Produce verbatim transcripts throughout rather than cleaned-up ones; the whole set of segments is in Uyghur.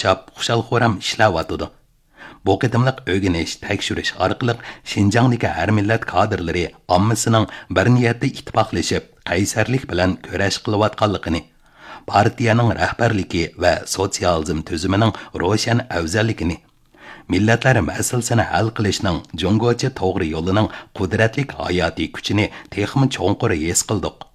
چاپ، خۇشال-خۇرام ئىشلەۋاتىدۇ. بۇ قېتىملىق ئۆگىنىش، تەكشۈرۈش ئارقىلىق شىنجاڭدىكى ھەر مىللەت كادىرلىرى ئاممىسىنىڭ بىر نىيەتتە ئىتتىپاقلىشىپ، قەيسەرلىك بىلەن كۈرەش قىلىۋاتقانلىقىنى، پارتىيەنىڭ رەھبەرلىكى ۋە سوتسىيالىزم تۈزۈمىنىڭ روشەن ئەۋزەللىكىنى، مىللەتلەر مەسىلىسىنى ھەل قىلىشنىڭ جۇڭگوچە توغرا يولىنىڭ قۇدرەتلىك ھاياتىي كۈچىنى تېخىمۇ چوڭقۇر ھېس قىلدۇق.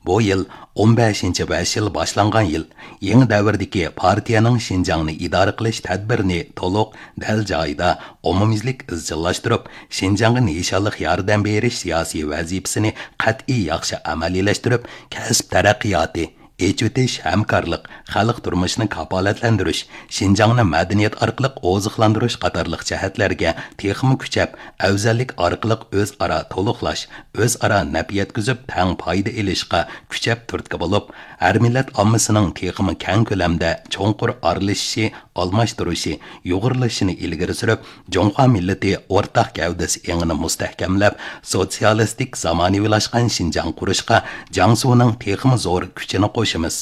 بۇ يىل ئون بەشىنچى بەش يىل باشلانغان يىل، يېڭى دەۋردىكى پارتىيەنىڭ شىنجاڭنى ئىدارە قىلىش تەدبىرىنى تولۇق، دەل جايىدا، ئومۇميۈزلۈك ئىزچىللاشتۇرۇپ، شىنجاڭغا نىشانلىق ياردەم بېرىش سىياسىي ۋەزىپىسىنى قەتئىي ياخشى ئەمەلىيلەشتۈرۈپ، كەسىپ تەرەققىياتى، ئېچىۋېتىش، ھەمكارلىق، خەلق تۇرمۇشىنى كاپالەتلەندۈرۈش، شىنجاڭنى مەدەنىيەت ئارقىلىق ئوزۇقلاندۇرۇش قاتارلىق جەھەتلەرگە تېخىمۇ كۈچەپ، ئەۋزەللىك ئارقىلىق ئۆزئارا تولۇقلاش، ئۆزئارا نەپ يەتكۈزۈپ، تەڭ پايدا ئېلىشقا كۈچەپ تۈرتكە بولۇپ، ھەر مىللەت ئاممىسىنىڭ تېخىمۇ كەڭ كۆلەمدە چوڭقۇر ئارىلىشىشى، ئالماشتۇرۇشى، يۇغۇرۇلۇشىنى ئىلگىرى سۈرۈپ، جۇڭخۇا مىللىتى ئورتاق گەۋدىسى ئېڭىنى مۇستەھكەملەپ، سوتسىيالىستىك زامانىۋىلاشقان شىنجاڭ قۇرۇشقا جياڭسۇنىڭ تېخىمۇ زور كۈچىنى قوشىمىز.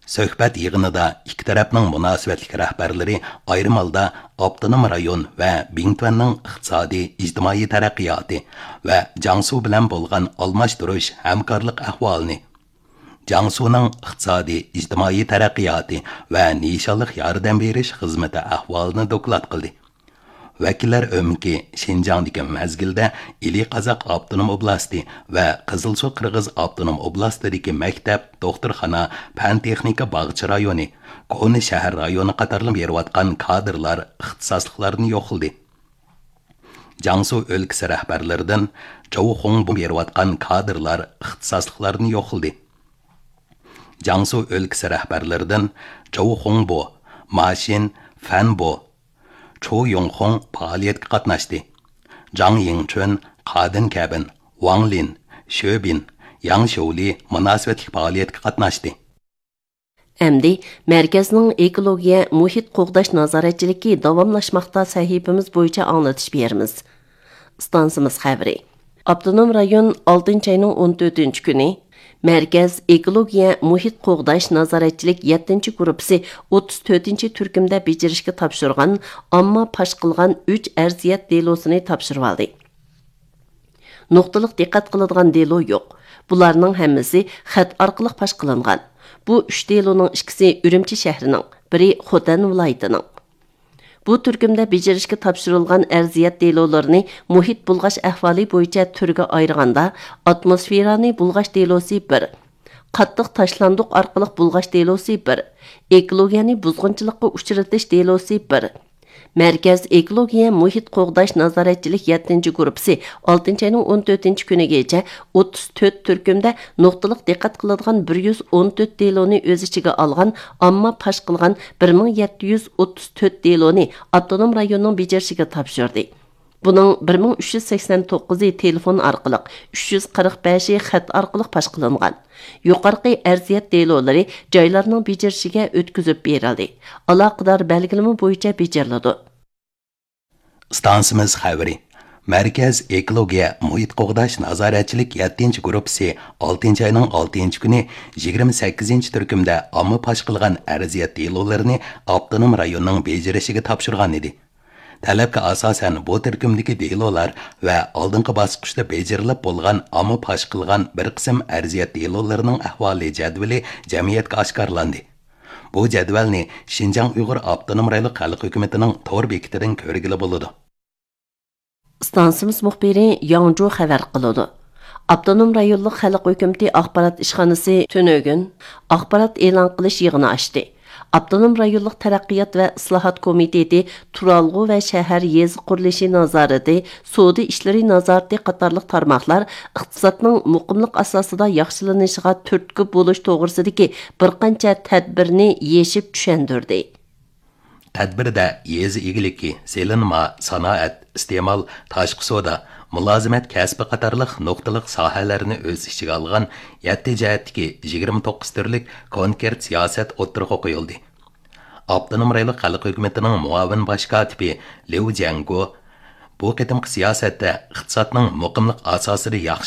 سۆھبەت يىغىنىدا ئىككى تەرەپنىڭ مۇناسىۋەتلىك رەھبەرلىرى ئايرىم ھالدا ئاپتونوم رايون ۋە بىڭتۈەننىڭ ئىقتىسادىي، ئىجتىمائىي تەرەققىياتى ۋە جياڭسۇ بىلەن بولغان ئالماشتۇرۇش، ھەمكارلىق ئەھۋالىنى، جياڭسۇنىڭ ئىقتىسادىي، ئىجتىمائىي تەرەققىياتى ۋە نىشانلىق ياردەم بېرىش خىزمىتى ئەھۋالىنى دوكلات قىلدى. ۋەكىللەر ئۆمىكى شىنجاڭدىكى مەزگىلدە ئىلى قازاق ئاپتونوم ئوبلاستى ۋە قىزىلسۇ قىرغىز ئاپتونوم ئوبلاستىدىكى مەكتەپ، دوختۇرخانا، پەن تېخنىكا باغچە رايونى، كونا شەھەر رايونى قاتارلىق بېرىۋاتقان كادىرلار ئىختىساسلىقلارنى يوقلىدى. جياڭسۇ ئۆلكىسى رەھبەرلىرىدىن جوۋ خۇڭبو بېرىۋاتقان كادىرلار ئىختىساسلىقلارنى يوقلىدى. جياڭسۇ ئۆلكىسى رەھبەرلىرىدىن جوۋ خۇڭبو، ما شىن، فەن بو، چۇ يۇڭخۇڭ پائالىيەتكە قاتناشتى. جاڭ يىڭچۈن، قادىن كەبىن، ۋاڭ لىن، شۆ بىن، ياڭ شيۇلى مۇناسىۋەتلىك پائالىيەتكە قاتناشتى. ئەمدى مەركەزنىڭ ئېكولوگىيە، مۇھىت قوغداش نازارەتچىلىكى داۋاملاشماقتا سەھىپىمىز بويىچە ئاڭلىتىش بېرىمىز. ئىستانسىمىز خەۋىرى. ئاپتونوم رايون ئالتىنچى ئاينىڭ ئون تۆتىنچى كۈنى مەركەز ئېكولوگىيە، مۇھىت قوغداش نازارەتچىلىك يەتتىنچى گۇرۇپپىسى ئوتتۇز تۆتىنچى تۈركۈمدە بېجىرىشكە تاپشۇرغان ئامما پاش قىلغان ئۈچ ئەرزىيەت دېلوسىنى تاپشۇرۇۋالدى. نۇقتىلىق دىققەت قىلىدىغان دېلو يوق. بۇلارنىڭ ھەممىسى خەت ئارقىلىق پاش قىلىنغان. بۇ ئۈچ دېلونىڭ ئىككىسى ئۈرۈمچى شەھىرىنىڭ، بىرى خوتەن ۋىلايىتىنىڭ. بۇ تۈركۈمدە بېجىرىشكە تاپشۇرۇلغان ئەرزىيەت دېلولىرىنى مۇھىت بۇلغاش ئەھۋالى بويىچە تۈرگە ئايرىغاندا، ئاتموسفېرانى بۇلغاش دېلوسى بىر، قاتتىق تاشلاندۇق ئارقىلىق بۇلغاش دېلوسى بىر، ئېكولوگىيەنى بۇزغۇنچىلىققا ئۇچرىتىش دېلوسى بىر. مەركەز ئېكولوگىيە مۇھىت قوغداش نازارەتچىلىك يەتتىنچى گۇرۇپپىسى ئالتىنچى ئاينىڭ ئون تۆتىنچى كۈنىگىچە ئوتتۇز تۆت تۈركۈمدە نۇقتىلىق دىققەت قىلىدىغان بىر يۈز ئون تۆت دېلونى ئۆز ئىچىگە ئالغان ئامما پاش قىلغان بىر مىڭ يەتتە يۈز ئوتتۇز تۆت دېلونى ئاپتونوم رايوننىڭ بېجىرىشىگە تاپشۇردى. بۇنىڭ بىر مىڭ ئۈچ يۈز سەكسەن توققۇزى تېلېفون ئارقىلىق، ئۈچ يۈز قىرىق بەشى خەت ئارقىلىق پاش قىلىنغان. يۇقىرىقى ئەرزىيەت دېلولىرى جايلارنىڭ بېجىرىشىگە ئۆتكۈزۈپ بېرىلدى. ئالاقىدار بەلگىلىمە بويىچە بېجىرىلىدۇ. ئىستانسىمىز خەۋىرى. مەركەز ئېكولوگىيە، مۇھىت قوغداش نازارەتچىلىك يەتتىنچى گۇرۇپپىسى ئالتىنچى ئاينىڭ ئالتىنچى كۈنى يىگىرمە سەككىزىنچى تۈركۈمدە ئامما پاش قىلغان ئەرزىيەت دېلولىرىنى ئاپتونوم رايوننىڭ بېجىرىشىگە تاپشۇرغان ئىدى. تەلەپكە ئاساسەن، بۇ تۈركۈمدىكى دېلولار ۋە ئالدىنقى باسقۇچتا بېجىرىلىپ بولغان ئامما پاش قىلغان بىر قىسىم ئەرزىيەت دېلولىرىنىڭ ئەھۋالى جەدۋىلى جەمئىيەتكە ئاشكارىلاندى. بۇ جەدۋەلنى شىنجاڭ ئۇيغۇر ئاپتونوم رايونلۇق خەلق ھۆكۈمىتىنىڭ تور بېكىتىدىن كۆرگىلى بولىدۇ. ئىستانسىمىز مۇخبىرى ياڭجۇ خەۋەر قىلىدۇ. ئاپتونوم رايونلۇق خەلق ھۆكۈمىتى ئاخبارات ئىشخانىسى تۈنۈگۈن ئاخبارات ئېلان قىلىش يىغىنى ئاچتى. ئاپتونوم رايونلۇق تەرەققىيات ۋە ئىسلاھات كومىتېتى، تۇرالغۇ ۋە شەھەر يېزا قۇرۇلۇشى نازارىتى، سودا ئىشلىرى نازارىتى قاتارلىق تارماقلار ئىقتىسادنىڭ مۇقىملىق ئاساسىدا ياخشىلىنىشىغا تۈرتكە بولۇش توغرىسىدىكى بىر قانچە تەدبىرنى يېشىپ چۈشەندۈردى. تەدبىردە يېزا ئىگىلىكى، سېلىنما، سانائەت، ئىستېمال، تاشقى سودا، مۇلازىمەت كەسپى قاتارلىق نۇقتىلىق ساھەلەرنى ئۆز ئىچىگە ئالغان يەتتە جەھەتتىكى يىگىرمە توققۇز تۈرلۈك كونكرېت سىياسەت ئوتتۇرىغا قويۇلدى. ئاپتونوم رايونلۇق خەلق ھۆكۈمىتىنىڭ مۇئاۋىن باش كاتىپى ليۇ جيەنگو بۇ قېتىمقى سىياسەتتە ئىقتىسادنىڭ مۇقىملىق ئاساسىدا ياخشى